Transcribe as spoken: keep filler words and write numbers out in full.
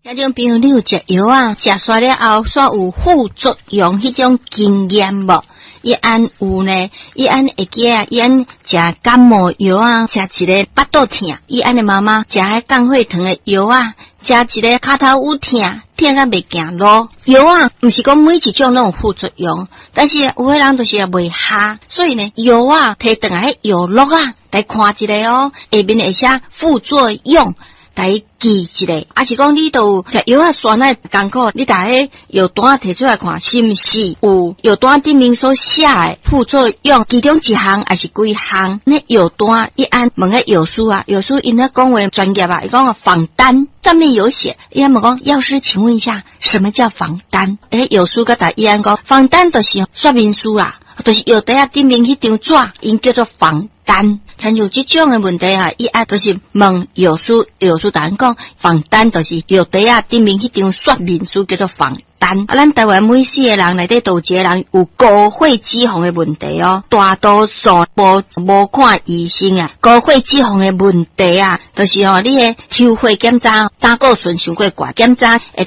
聽眾朋友，你有食藥仔，食煞了後，煞有副作用彼種經驗無？伊按有呢，伊按會記啊，伊按食感冒藥仔，食一个腹肚疼，伊按的媽媽食彼降血糖的藥仔，食一个跤頭趺疼，疼甲袂行路。藥仔毋是講每一種攏有副作用，但是有的人就是也袂效，所以呢，藥仔提轉來彼藥錄仔，來看一下哦，下面會寫副作用。來記一下，抑是講你都有食藥仔選的艱苦，你共彼藥單提出來看，是毋是有藥單頂面所寫的副作用？其中一項抑是幾項？那藥單伊按問彼藥師啊，藥師𪜶咧講話專業啊，伊講仿單上面有寫，伊按問講藥師，請問一下，什麼叫仿單？欸，藥師閣共伊按講，仿單就是說明書啦，就是藥袋仔頂面彼張紙，𪜶叫做仿單。親像這種的問題啊，伊愛就是問藥師，藥師共𪜶講，仿單就是藥袋仔頂面彼張說明書叫做仿單。啊，咱台灣每四個人內底都有一個人有高血脂肪的問題哦，大多數無無看醫生啊，高血脂肪的問題啊，就是吼，你的抽血檢查膽固醇傷過懸，檢查會